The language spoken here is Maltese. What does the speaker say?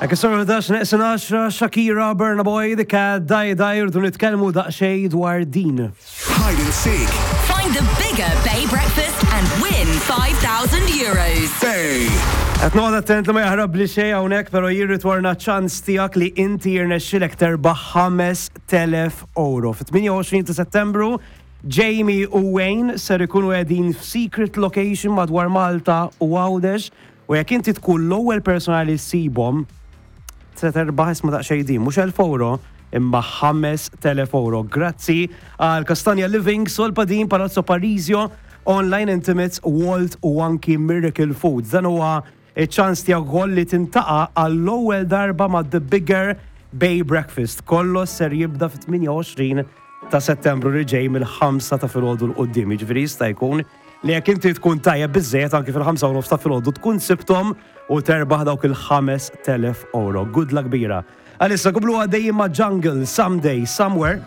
Hekk is-sor 11 neqsin 10 Shakira, Burna Boy, The Cat, Daj Daj, rridu nitkellmu daqsxejn dwar din. Hide and seek. Find the bigger Bay Breakfast and win 5,000 euros. Bay. Qed noqgħod attent li ma jaħrab li xejn hawnhekk, però jirritorna ċans tiegħek li inti jirnexxilek terbaħ 5000 euro. Fit-28 ta' Settembru, Jamie u Wayne ser ikunu qegħdin f'secret location madwar Malta u Għawdex u jekk inti tkun l-ewwel persuna li ssibhom se terbaħ isma' daqsxejn din, mhux 1000 euro, imma 5000 euro. Grazzi għal Castagna Living, Solpadin, Palazzo Parisio, Online Intimates, Walt u anki Miracle Foods. Dan huwa iċ-ċans tiegħek ukoll li tintaqa' għall-ewwel darba ma' The Bigger Bay Breakfast. Kollox ser jibda fit-28 ta' Settembru li ġej mill-5 ta' filgħodu 'l quddiem. Jiġifieri jista' jkun li jekk inti tkun tajjeb biżżejjed anki fil-5 u nofs ta' filgħodu tkun sibthom u terbaħ dawk il-5000 euro. Good luck kbira. Għalissa komplu għaddejjin ma' Jungle, Someday, Somewhere.